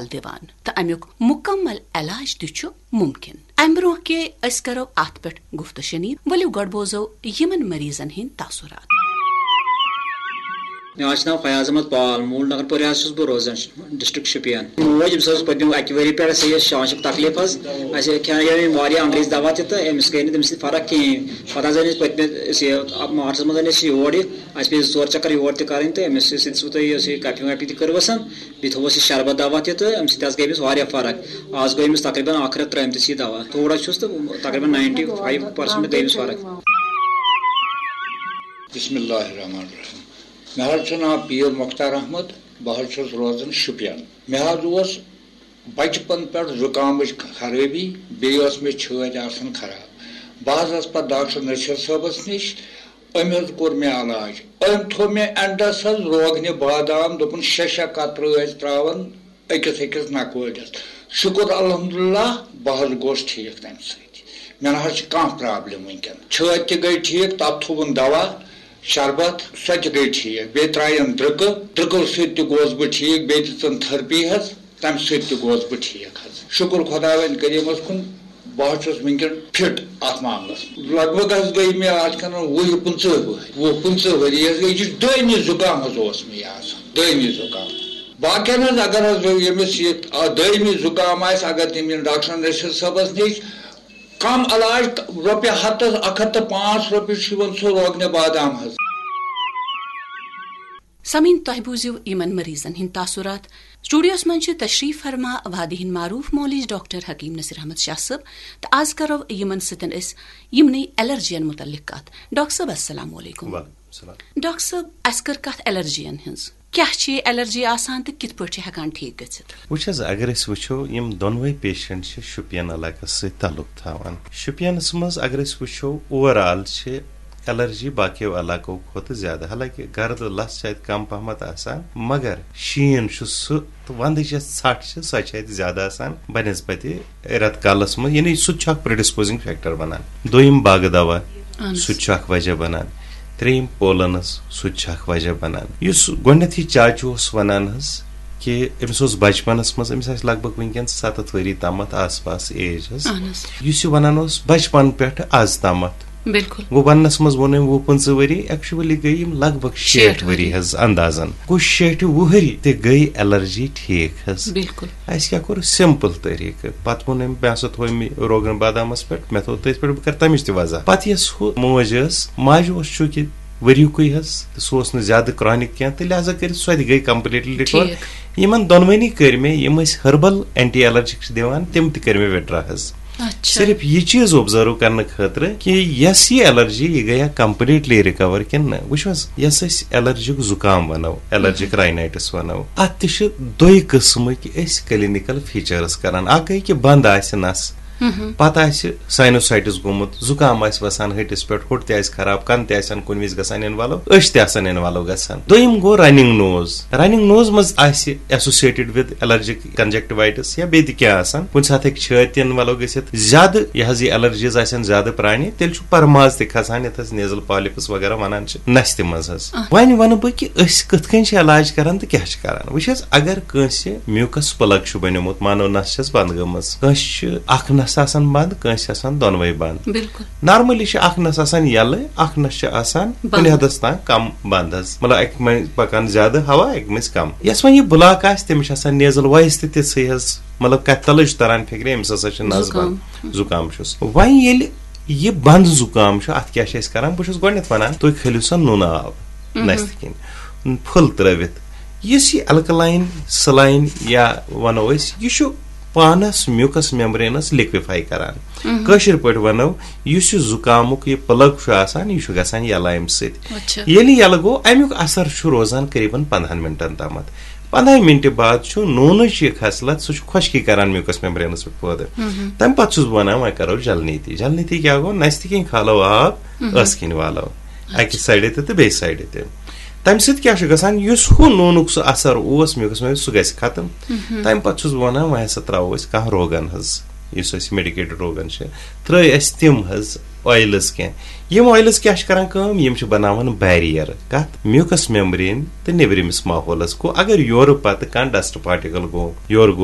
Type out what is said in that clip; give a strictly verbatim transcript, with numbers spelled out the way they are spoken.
دِوان تہٕ امیُک مکمل علاج تہِ چھُ ممکن۔ امہِ برونٛہہ کہِ أسۍ کرو اتھ پٮ۪ٹھ گفتہٕ شنید، ؤلِو گۄڈٕ بوزو یِمن مریضن ہٕنٛدۍ تاثرات۔ مےٚ حظ چھُ ناو فیاض احمد پال، موٗل نگر پورِ حظ چھُس بہٕ روزان، ڈسٹرکٹ شُپین۔ موج، أمِس حظ اوس پٔتمہِ اَکہِ ؤری پٮ۪ٹھ اَسہِ یہِ شانشُک تکلیٖف حظ۔ اَسہِ کھیٚونٲوۍ أمۍ واریاہ انگریز دوا تہِ تہٕ أمِس گٔے نہٕ تَمہِ سۭتۍ فرق کِہیٖنۍ۔ پتہٕ حظ أنۍ أسۍ پٔتمہِ، أسۍ یہِ، مارچس منٛز أنۍ أسۍ یہِ یور یہِ۔ اَسہِ پیٚیہِ زٕ ژور چکر یور تہِ کرٕنۍ تہٕ أمِس سۭتۍ دِژوٕ تۄہہِ یۄس یہِ کپھِ وپھِ تہِ کٔروَس۔ بیٚیہِ تھوٚوُس یہِ شربت دوا تہِ تہٕ اَمہِ سۭتۍ حظ گٔے أمِس واریاہ فرق۔ آز گوٚو أمِس تقریباً اکھ رٮ۪تھ ترٛٲومٕتِس یہِ دوا۔ تھوڑا چھُس تہٕ تقریباً ناینٹی فایو پٔرسنٹ گٔے أمِس فرق۔ بسم اللہ الرحمن الرحیم۔ مےٚ حظ چھُ ناو پیٖر مۄختار احمد، بہٕ حظ چھُس روزان شُپین۔ مےٚ حظ اوس بچپن پٮ۪ٹھ زُکامٕچ خرٲبی، بیٚیہِ ٲس مےٚ چھٲتۍ آسان خراب۔ بہٕ حظ ٲسٕس پتہٕ ڈاکٹر نصیر صٲبس نِش، أمۍ حظ کوٚر مےٚ علاج۔ أمۍ تھوٚو مےٚ اینڈس حظ روگنہِ بادام، دوٚپُن شےٚ شےٚ قطرٕ ٲسۍ ترٛاوان أکِس أکِس نکوٲڑِس۔ شُکُر الحمدللہ، بہٕ حظ گوس ٹھیٖک تَمہِ سۭتۍ۔ مےٚ نہ حظ چھِ کانٛہہ پرابلم وٕنکیٚن۔ چھٲتۍ تہِ گٔے ٹھیٖک، تَتھ تھوٚوُن دوا، شربت، سۄ تہِ گٔے ٹھیٖک۔ بیٚیہِ ترٛایَم درٛکہٕ، درٛکہٕ سۭتۍ تہِ گوس بہٕ ٹھیٖک، بیٚیہِ دِژٕن تھرپی حظ، تَمہِ سۭتۍ تہِ گوس بہٕ ٹھیٖک حظ۔ شُکُر خۄداوند کریٖمَس کُن، بہٕ حظ چھُس وٕنکیٚن فٹ اَتھ معاملَس منٛز۔ لگ بگ حظ گٔے مےٚ اَتھ کَنَن وُہ پٕنٛژٕہ ؤہٕرۍ، وُہ پٕنٛژٕہ ؤری حظ گٔے۔ یہِ چھُ دٲیمی زُکام حظ اوس مےٚ یہِ آسان، دٲیمی زُکام۔ باقین حظ اگر حظ ییٚمِس یہِ آ، دٲیمی زُکام آسہِ، اگر تٔمۍ یِن ڈاکٹر نصیر صٲبس نِش، کم علاج، رۄپیہِ ہتس، اکھ ہتھ تہٕ پانٛژھ رۄپیہِ چھُ یِوان سُہ روگنہِ بادام حظ۔ سامعیٖن، تۄہہِ بوٗزِو یِمن مریضن ہٕنٛدۍ تاثرات۔ سٹوڈیوس منٛز چھِ تشریف فرما وادی ہٕنٛدۍ معروف معالج ڈاکٹر حکیم نصیر احمد شاہ صٲب، تہٕ آز کرو یِمن سۭتۍ أسۍ یِمنٕے الرجین متعلق کتھ۔ ڈاکٹر صٲب، السلام علیکم۔ وعلیکم السلام۔ ڈاکٹر صٲب، اسہِ کٔر کتھ الرجین ہٕنٛز۔ کیٛاہ چھِ یہِ الرجی آسان تہٕ کِتھ پٲٹھۍ چھِ ہٮ۪کان ٹھیٖک گٔژھِتھ؟ وٕچھ حظ، اگر أسۍ وٕچھو، یِم دۄنوَے پیشنٹ چھِ شُپین علاقس سۭتۍ تعلق تھاوان۔ شُپینس منٛز اگر أسۍ وٕچھو، اوور آل چھِ الرجی باقیو علاقو کھۄتہٕ زیادٕ، حالانکہ گرد لژھ چھِ اتہِ کم پہمتھ آسان، مگر شیٖن چھُ سُہ تہٕ ونٛدٕچ یۄس ژھٹھ چھِ، سۄ چھِ اتہِ زیادٕ آسان بنسبتِ رٮ۪تہٕ کالس منٛز، یعنی سُہ تہِ چھُ اکھ پریڈسپوزنگ فیکٹر بنان۔ دوٚیِم باغہٕ دوا، اہن حظ۔ سُہ تہِ چھُ اکھ وجہ بنان۔ ترٛیٚیِم پولنس، سُہ تہِ چھُ اکھ وجہ بنان۔ یُس گۄڈٕنیتھٕے چاچہِ اوس ونان حظ کہِ أمِس اوس بچپنس منٛز، أمِس آسہِ لگ بگ وٕنکیٚن ستتھ ؤری تامتھ آس پاس ایج حظ۔ اہن حظ۔ یُس یہِ ونان اوس بچپن پٮ۪ٹھ از تامتھ، بِلکُل۔ گوٚو وننس منٛز ووٚن أمۍ وُہ پٕنٛژٕہ ؤری، ایکچولی گٔے یِم لگ بگ شیٹھ شیٹھ ؤری ؤری۔ حظ اندازن۔ گوٚو شیٹھِ وُہٕرۍ تہِ گٔے الرجی ٹھیٖک حظ۔ بِلکُل۔ اَسہِ کیٛاہ کوٚر؟ سمپل طریٖقہٕ۔ پتہٕ ووٚن أمۍ، مےٚ ہسا تھوٚو أمۍ روگن بادامس پٮ۪ٹھ، مےٚ تھوٚو تٔتھۍ پٮ۪ٹھ، بہٕ کرٕ تمِچ تہِ وضاحت۔ پتہٕ یۄس ہُہ موج ٲس، ماجہِ اوس چوٗنٛکہِ ؤریُکُے حظ، تہٕ سُہ اوس نہٕ زیادٕ کرانِک کینٛہہ، تہٕ لہذا کٔرِتھ سۄ تہِ گٔے کمپلیٹلی رِکور۔ ٹھیٖک۔ یِمن دۄنوٕنی کٔرۍ مےٚ، یِم أسۍ ہربل اینٹی الرجک چھِ دِوان، تِم تہِ کٔرۍ مےٚ وِڈرا حظ۔ اچھا۔ صرف یہِ چیٖز اوبزرو کرنہٕ خٲطرٕ کہِ یۄس یہِ الرجی، یہِ گٔیا کمپلیٹلی رِکور کِنہٕ نہ۔ وٕچھو حظ، یۄس أسۍ الرجک زُکام ونو، الرجک رائنائٹس ونو، اتھ تہِ چھِ دۄیہِ قٕسمٕکۍ أسۍ کلینیکل فیچرس کران۔ اکھ گٔے کہِ بند آسہِ نس، مہم۔ پتہٕ آسہِ سائنوسائٹس گوٚمُت، زُکام آسہِ وسان ہٹِس پٮ۪ٹھ، ہوٚٹ تہِ آسہِ خراب، کن تہِ آسن کُنہِ وِزِ گژھان انوالو، أچھ تہِ آسن انوالو گژھان۔ دوٚیِم گوٚو رننگ نوز۔ رننگ نوز منٛز آسہِ ایسوسیٹڈ ود الرجک کنجکٹیوائٹس یا بیٚیہِ تہِ کینٛہہ آسان۔ کُنہِ ساتہٕ ہیٚکہِ چھٲتۍ تہِ انوالو گٔژھِتھ۔ زیادٕ یہِ حظ یہِ الرجیز آسن زیادٕ پرانہِ، تیٚلہِ چھُ پرماز تہِ کھسان، یتھ حظ نیزل پالیپس وغیرہ ونان چھِ، نستہِ منٛز حظ۔ آ۔ وۄنۍ ونہٕ بہٕ کہِ أسۍ کِتھ کٔنۍ چھِ علاج کران تہٕ کیٛاہ چھِ کران۔ وٕچھ حظ، اگر کٲنٛسہِ میوٗکس پلگ چھُ بنیومُت، مانو نس چھس بنٛد گٔمٕژ، کٲنٛسہِ چھِ اکھ نس آسان بنٛد، کٲنٛسہِ آسان دۄنوَے بنٛد۔ بِلکُل۔ نارملی چھِ اکھ نس آسان یَلہٕ، اکھ نس چھِ آسان بنٛد۔ کُنہِ حدس تام کم بنٛد حظ، مطلب اکہِ منٛزۍ پکان زیادٕ ہوا، اکہِ منٛزۍ کم۔ یۄس وۄنۍ یہِ بلاک آسہِ، تٔمِس چھِ آسان نیزل وایس تہِ تِژھٕے حظ، مطلب کتھِ تلٕے چھُ تران فکرِ، أمِس ہسا چھِ نس زُکام۔ بنٛد، زُکام چھُس۔ وۄنۍ ییٚلہِ یہِ بنٛد زُکام چھُ، اتھ کیٛاہ چھِ أسۍ کران؟ بہٕ چھُس گۄڈٕنٮ۪تھ ونان، تُہۍ کھٲلِو سا نُنہٕ آب نستہِ کِنۍ، پھُل ترٲوِتھ۔ یُس یہِ الکلاین سلاین یا ونو أسۍ، یہِ چھُ پانس میوٗکس میمبرینس لِکوِفاے کران۔ کٲشِر پٲٹھۍ ونو، یُس یہِ زُکامُک یہِ پلگ چھُ آسان، یہِ چھُ گژھان یلہٕ امہِ سۭتۍ۔ اچھا۔ ییٚلہِ یلہٕ گوٚو، امیُک اثر چھُ روزان قریباً پندہن منٹن تامتھ۔ پندہے منٹہِ بعد چھُ نوٗنٕچ یہِ خصلت، سُہ چھُ خۄشکی کران میوٗکس میمبرینس پٮ۪ٹھ پٲدٕ۔ تمہِ پتہٕ چھُس بہٕ ونان، وۄنۍ کرو جلنیتی۔ جلنیتی کیٛاہ گوٚو؟ نستہِ کِنۍ کھالو آب، ٲس کِنۍ والو۔ اکہِ سایڈٕ تہِ تہٕ بیٚیہِ سایڈٕ تہِ۔ تمہِ سۭتۍ کیٛاہ چھُ گژھان؟ یُس ہُہ نوٗنُک سُہ اثر اوس میوٗکس منٛز، سُہ گژھِ ختم۔ تمہِ پتہٕ چھُس بہٕ ونان، وۄنۍ ہسا ترٛاوو أسۍ کانٛہہ روغن حظ، یُس أسۍ میڈیکیٹڈ روغن چھِ، ترٛٲے اَسہِ تِم حظ۔ آیلز کینٛہہ۔ یِم آیلز کیٛاہ چھِ کران کٲم؟ یِم چھِ بناوان بیریئر کتھ؟ میوکس میمبرین تہٕ نیبرِمِس ماحولس۔ گوٚو اگر یورٕ پتہٕ کانٛہہ ڈسٹ پارٹیکل گوٚو، یورٕ گوٚو